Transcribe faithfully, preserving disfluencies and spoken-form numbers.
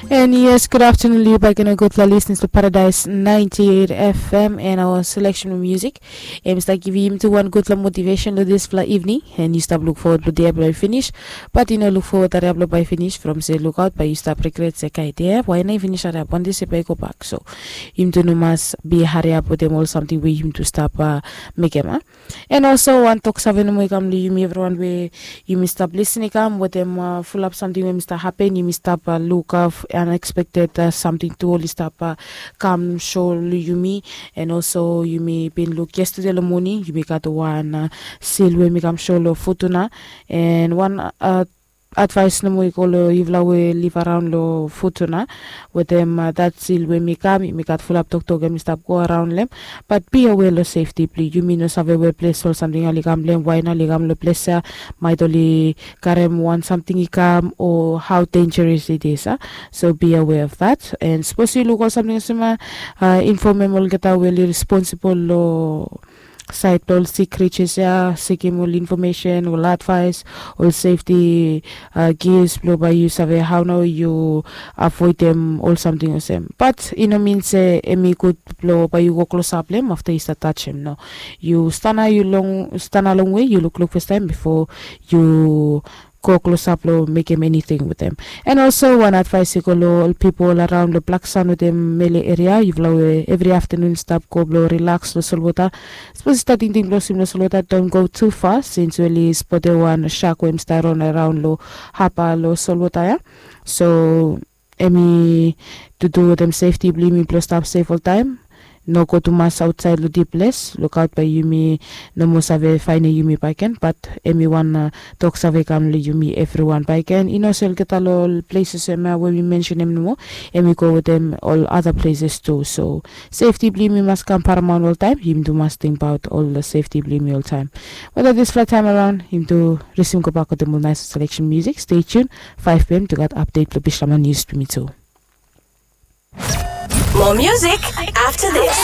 And yes, good afternoon, Liu Bagino. Good for listening to Paradise ninety-eight F M and our selection of music. Em start giving him to one good for motivation to this for evening. And you stop look forward to the by finish. But you know, look forward that by finish from say look out, but you stop regret say kai there. Why not finish at one day say go back? So him to no must be hurry up with them all something where him to stop uh, make him. Huh? And also wan tok save nomo i kam long yumi evriwan we yumi stap lisin i kam wetem fulap samting we mi stap hapen, yumi stap lukaf anexpekted samting tu oli stap kam so long yumi. And also yumi bin luk yestade long moning yumi gat wan sil we mi kam so long futuna. And wan advais nomo i go long yufala we liv araon long futuna wetem dat sil we mi kam yumi gat fulap toktok em i stap go araon long em. Bat bia we long sefti blong yumi no save we ples ol samting ya oli kam long em wae na oli kam long ples ya maet oli karem wan samting i kam o hao denjeres i dis a. So bia we of dat. And sapos yu luk ol samting olsem ya, infomem olgeta we oli responsibol long saed blong ol sik krijas ya, sikim ol infomesen ol advais, ol sefti gis blong bae yu save hao nao yu avoedem ol samting olsem. Bat i no min se em i gud blong bae yu go klosap long em afta yu stap tajem no. Yu stana yu long stana longwe yu lukluk fastaem bifo yu go klosap long mekem eniting wetem. And olso wan advais i go long ol pipol araon long blaksan wetem mele eria yufala we evri aftanun stap go blong rilaks long solwota. Sapos i stap tingting blong swim long solwota don go tu fas sins we oli spotem wan sak we em stap ron araon long hapa long solwota ya. So em i tutu wetem sefti blong yumi blong stap sef oltaem. No go tumas aotsaed long dip ples lukaot bae yumi no moa save faenem yumi baeken bat em i wan tok save kam long yumi evriwan baeken i no se olgeta long ol pleses em ya we mi mensenem nomo. Em i go wetem ol ada pleses tu so sefti blong yumi mas kam paramaon oltaem yumi tu mas tingbaot ol sefti blong yumi oltaem. Weda disfala taem araon yumi tu risim gobak wetem ol nais seleksen musik stay tune. Five pm tu gat apdet blong bislama nius blong yumi tu. More music after this.